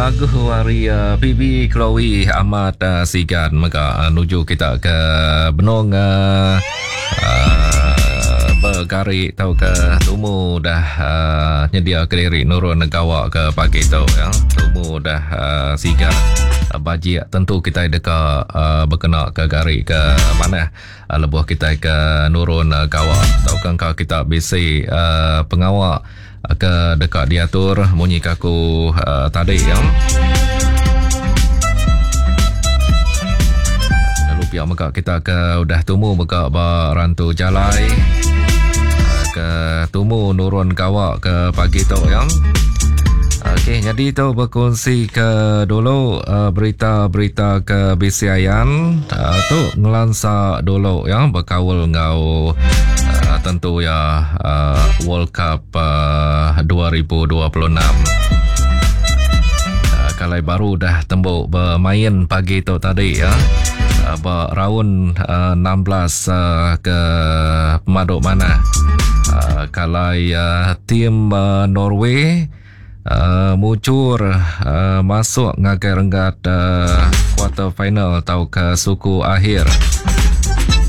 Lagu ari PB Chloe amat sigan mega nuju kita ke benung begari tauka tumu dah nyedia ke diri nurun gawa ke pagi tu ya. Tumu dah sigan bajik tentu kitai deka bekena ke gari ke manah lebuh kitai ke nurun gawa tauka engka kita bisi pengawa ke deka diatur munyi ke aku uh, tadi ya. Lalu pia mega kita ke udah tumu mega ba rantu jalai uh, ke tumu nurun gawa ke pagi tu ya. Okey, jadi tu berkongsi ke dulu uh, berita-berita ke bisi ayan uh, tu ngelansa dulu ya berkaul enggau uh, tentu ya uh, World Cup uh, 2026. Uh, kalai baru dah tembuk bermain pagi tu tadi ya. Uh, ba round uh, 16 uh, ke pemaduk mana. Uh, kalai uh, tim uh, Norway uh, mucur uh, masuk ngagai renggat uh, quarter final atau ke suku akhir.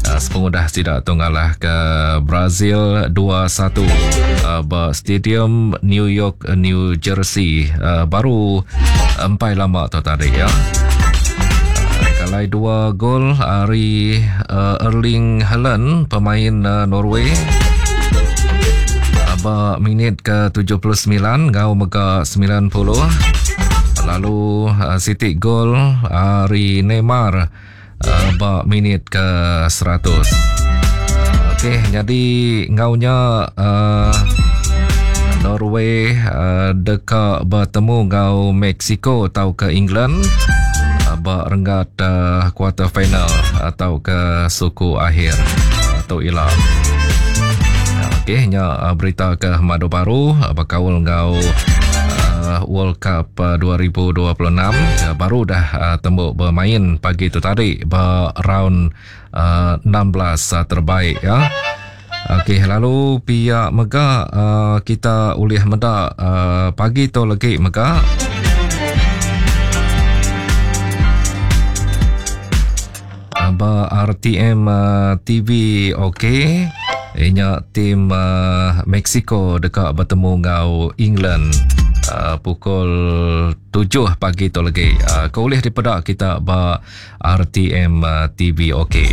Uh, sepengudah sida tu ngalah ke Brazil 2-1 uh, ba Stadium New York New Jersey uh, baru empai lama tu tadi ya. Kalai dua gol ari uh, Erling Haaland pemain uh, Norway ba minit ke 79 enggau mega 90 lalu uh, siti gol ari Neymar uh, ba minit ke 100. Okey, jadi enggau nya uh, Norway uh, deka bertemu enggau Mexico atau ke England uh, ba renggat uh, quarter final atau ke suku akhir atau ila. Okey, nya uh, berita ke madu baru uh, bekaul enggau uh, World Cup uh, 2026 uh, baru dah uh, tembuk bermain pagi tu tadi ba round uh, 16 terbaik ya. Okey, lalu pihak mega uh, kita ulih meda uh, pagi tu lagi mega ba RTM uh, TV okey inya tim uh, Mexico deka bertemu enggau England uh, pukul 7 pagi tu lagi. Uh, ke ulih dipeda kita ba RTM uh, TV okey.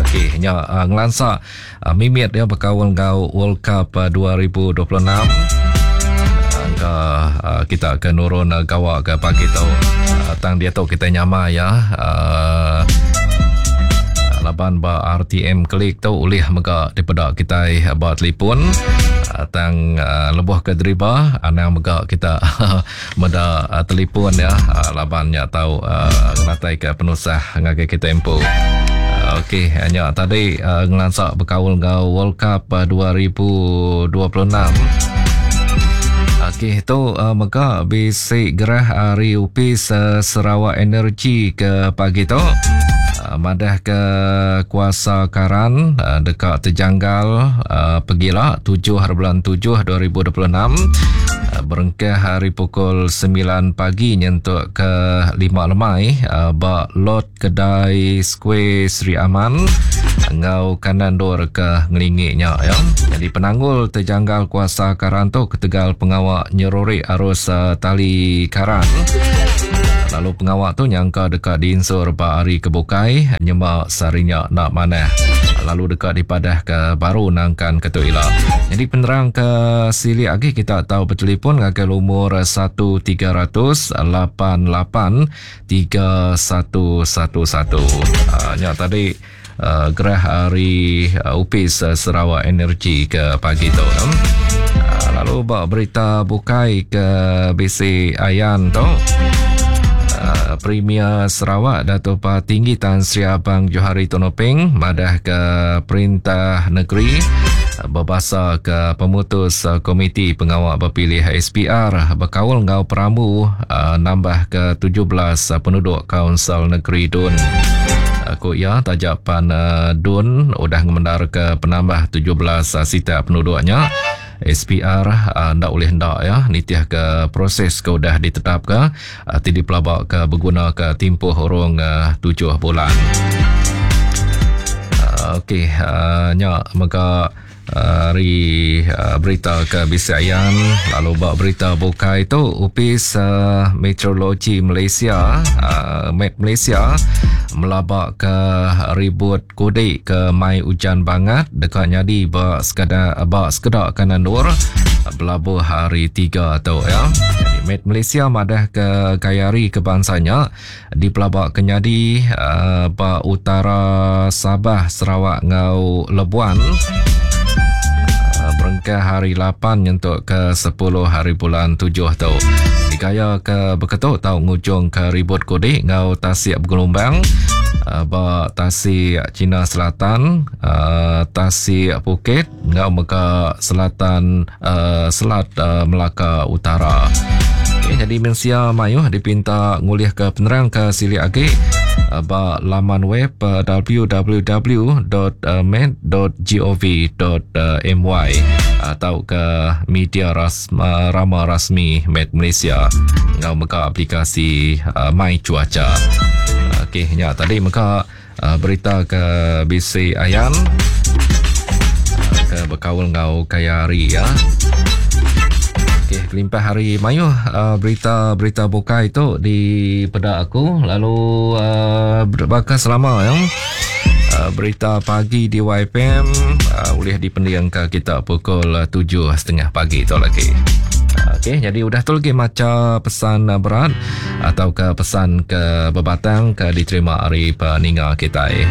Okey, nya uh, ngelansa uh, mimit dia bekaul enggau World Cup uh, 2026. Angka uh, kita ke nurun uh, gawa ke pagi tu. Uh, tang dia tu kita nyamai ya. Uh, laban ba RTM klik tu ulih mega dipeda kitai ba telefon tang uh, lebuh ke deriba anang mega kita Meda telipon ya laban nya tau ngenatai ke penusah ngagai kita empu. Okey, nya tadi ngelansa bekaul enggau World Cup 2026. Okey, tu mega bisi gerah ari Opis Sarawak Energy ke pagi tu. Madah ke kuasa karan deka tejanggal pegila 7 hari bulan 7 2026 berengkah hari pukul 9 pagi nyentuk ke 5 lemai ba lot kedai Square Sri Aman enggau kanan dor ke ngelingi nya ya. Jadi penanggul tejanggal kuasa karan tu ketegal pengawa nyerurik arus tali karan. Lalu pengawa tu nyangka deka diinsur ba hari ke bukai nyema sehari nya enda manah lalu deka dipadahka baru nangkan ke tu ila. Nyadi penerang ke silik agi kita tau betelefon ngagai lumur 1300 88 3111. Nya tadi uh, gerah ari uh, Opis uh, Sarawak Energy ke pagi tu. Uh, lalu ba berita bukai ke bisi ayan tu. Uh, Premier Sarawak Dato' Patinggi Tan Sri Abang Johari Tun Openg madah ke perintah negeri bebasa ke pemutus Komiti Pengawa Bepilih SPR bekaul enggau perambu nambah ke 17 penuduk Kaunsil Negeri Dun. Ku iya, taja pan Dun udah ngemendarka penambah 17 sitak penuduk nya, SPR enda ulih enda ya nitih ke proses ke udah ditetapka ti dipelabaka begunaka timpuh urung tujuh bulan. Okey, nya mega Ari berita ke bisi ayan lalu ba berita bukai tu Opis Meteorologi Malaysia Met Malaysia melaba ke ribut kudi ke mai ujan bangat deka nyadi ba sekeda ba sekeda kanan endur belabuh hari tiga tu ya. Jadi Met Malaysia madah ke gaya hari ke bansa nya Dipelaba ke nyadi ba utara Sabah, Sarawak enggau Labuan berengkah hari 8 nyentuk ke 10 hari bulan 7 tu. Digaya ke beketu tau ngujung ke ribut kudi enggau tasik begelumbang ba tasik China Selatan, tasik Phuket enggau mega selatan Selat Melaka Utara. Okay, jadi mensia mayuh dipinta ngulihka penerang ke silik agi ba laman web www.met.gov.my atau ke media rasma, rama rasmi Met Malaysia enggau mega aplikasi My Cuaca. Okey, nya tadi mega Berita ke bisi ayan ke bekaul enggau kaya hari ya. Okey, kelimpah hari mayuh berita-berita bukai tu di peda aku lalu baka selama ya. Berita pagi di YPM ulih dipendingka kita pukul 7.30 pagi tu lagi. Okey, jadi udah tu lagi macha pesan berat atau ke pesan ke bebatang ke diterima ari peninga kitai.